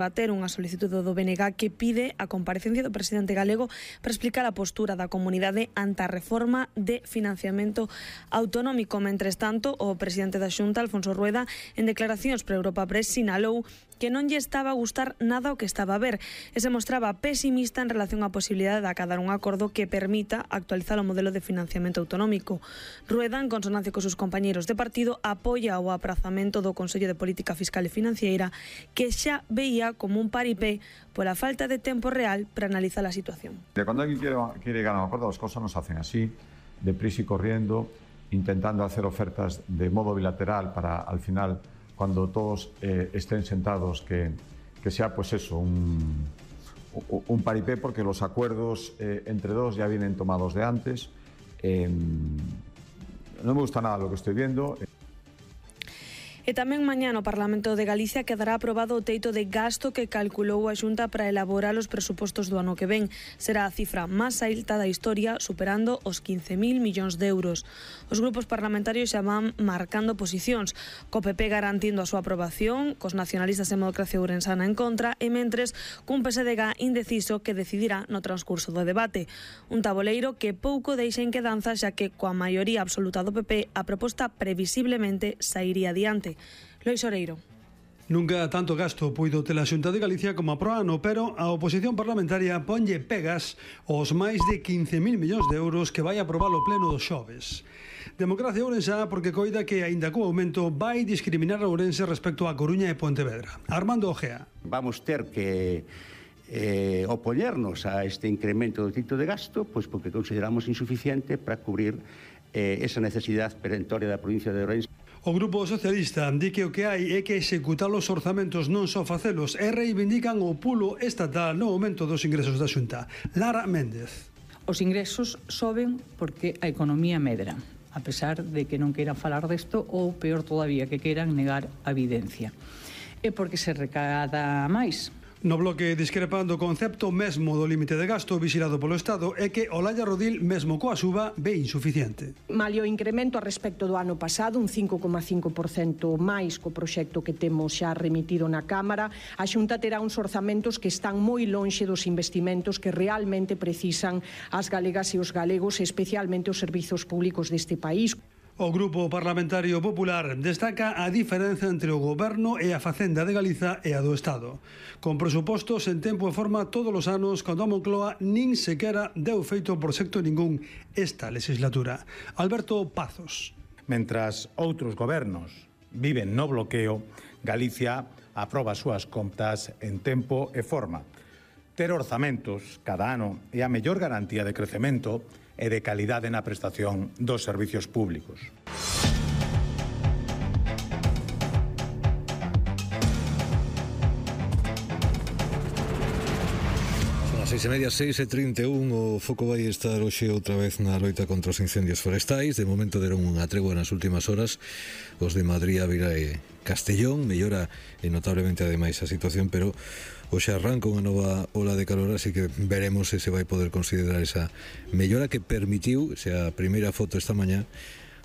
bater unha solicitude do BNG que pide a comparecencia do presidente galego para explicar a postura da comunidade ante a reforma de financiamento autonómico. Mentres tanto, o presidente da Xunta, Alfonso Rueda, en declaracións para Europa Press, sinalou que non lle estaba a gustar nada o que estaba a ver e se mostraba pesimista en relación á posibilidade de acadar un acordo que permita actualizar o modelo de financiamento autonómico. Rueda, en consonancia cos seus compañeiros de partido, apoia o aprazamento do Consello de Política Fiscal e Financiera, que xa veía como un paripé pola falta de tempo real para analizar a situación. Cuando alguien quiere llegar a un acuerdo, las cosas no se hacen así, deprisa y corriendo, intentando hacer ofertas de modo bilateral para, al final, cuando todos estén sentados, que sea pues eso, un paripé, porque los acuerdos entre dos ya vienen tomados de antes. No me gusta nada lo que estoy viendo. E tamén mañá no Parlamento de Galicia quedará aprobado o teito de gasto que calculou a Xunta para elaborar os presupostos do ano que ven. Será a cifra máis alta da historia, superando os 15.000 millóns de euros. Os grupos parlamentarios xa van marcando posicións, co PP garantindo a súa aprobación, cos nacionalistas e Democracia Ourensana en contra, e mentres cun PSDG indeciso que decidirá no transcurso do debate. Un taboleiro que pouco deixa en quedanza, xa que coa maioría absoluta do PP a proposta previsiblemente sairía adiante. Lois Oreiro. Nunca tanto gasto puido ter a Xunta de Galicia como a pro ano, pero a oposición parlamentaria ponlle pegas aos máis de 15.000 millóns de euros que vai aprobar o pleno dos xoves. Democracia Ourensá porque coida que, aínda co aumento, vai discriminar a Ourense respecto a Coruña e Pontevedra. Armando Ojea. Vamos ter que opoñernos a este incremento do teito de gasto, pois porque consideramos insuficiente para cubrir esa necesidade perentoria da provincia de Ourense. O Grupo Socialista di que o que hai é que executar os orzamentos, non só facelos, e reivindican o pulo estatal no aumento dos ingresos da Xunta. Lara Méndez. Os ingresos soben porque a economía medra, a pesar de que non queiran falar desto ou, peor todavía, que queiran negar a evidencia. E porque se recada máis. No bloque discrepando o concepto mesmo do límite de gasto vigilado polo Estado é que Olalla Rodil, mesmo coa suba, ve insuficiente. Malia o incremento a respecto do ano pasado, un 5,5% máis co proxecto que temos xa remitido na Cámara, a Xunta terá uns orzamentos que están moi lonxe dos investimentos que realmente precisan as galegas e os galegos, especialmente os servizos públicos deste país. O Grupo Parlamentario Popular destaca a diferenza entre o Goberno e a Facenda de Galiza e a do Estado. Con presupostos en tempo e forma todos os anos, cando a Moncloa nin sequera deu feito proxecto ningún esta legislatura. Alberto Pazos. Mentras outros gobernos viven no bloqueo, Galicia aproba as súas contas en tempo e forma. Ter orzamentos cada ano é a mellor garantía de crecemento e de calidade na prestación dos servicios públicos. Son as 6:30, 6:31, o foco vai estar hoxe outra vez na loita contra os incendios forestais. De momento deron unha tregua nas últimas horas os de Madrid, Ávila e Castellón. Mellora notablemente ademais a situación, pero hoxe arranca unha nova ola de calor, así que veremos se se vai poder considerar esa mellora que permitiu, a primeira foto esta mañá,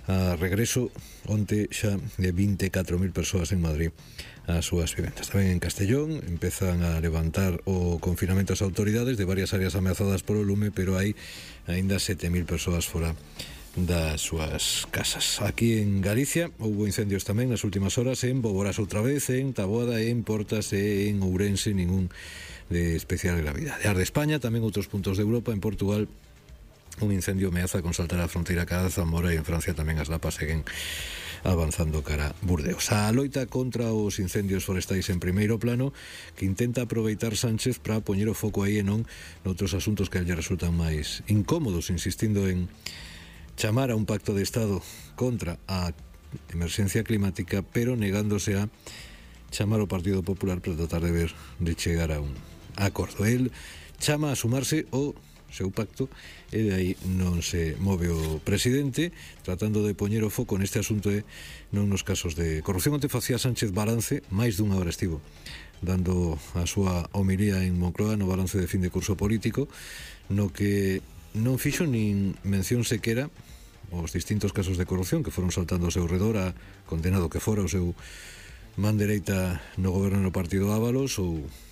a regreso onte xa de 24.000 persoas en Madrid ás súas vivendas. Tamén en Castellón empezan a levantar o confinamento as autoridades de varias áreas ameazadas polo lume, pero hai aínda 7.000 persoas fora das súas casas. Aquí en Galicia houbo incendios tamén nas últimas horas en Boborás outra vez, en Taboada, en Portas e en Ourense, ningún de especial gravidade. Ar de España, tamén outros puntos de Europa, en Portugal un incendio ameaza con saltar a fronteira cara a Zamora, e en Francia tamén as lapas seguen avanzando cara a Burdeos. A loita contra os incendios forestais en primeiro plano, que intenta aproveitar Sánchez para poñer o foco aí e non noutros asuntos que lle resultan máis incómodos, insistindo en chamar a un pacto de Estado contra a emerxencia climática, pero negándose a chamar o Partido Popular para tratar de ver de chegar a un acordo. El chama a sumarse o seu pacto e de aí non se move o presidente, tratando de poñer o foco neste asunto e non nos casos de corrupción. Onte facía Sánchez balance, máis dunha hora estivo dando a súa homilía en Moncloa no balance de fin de curso político, no que non fixo nin mención sequera os distintos casos de corrupción que foron saltando ao seu redor, a condenado que fora o seu man dereita no goberno do partido Ábalos ou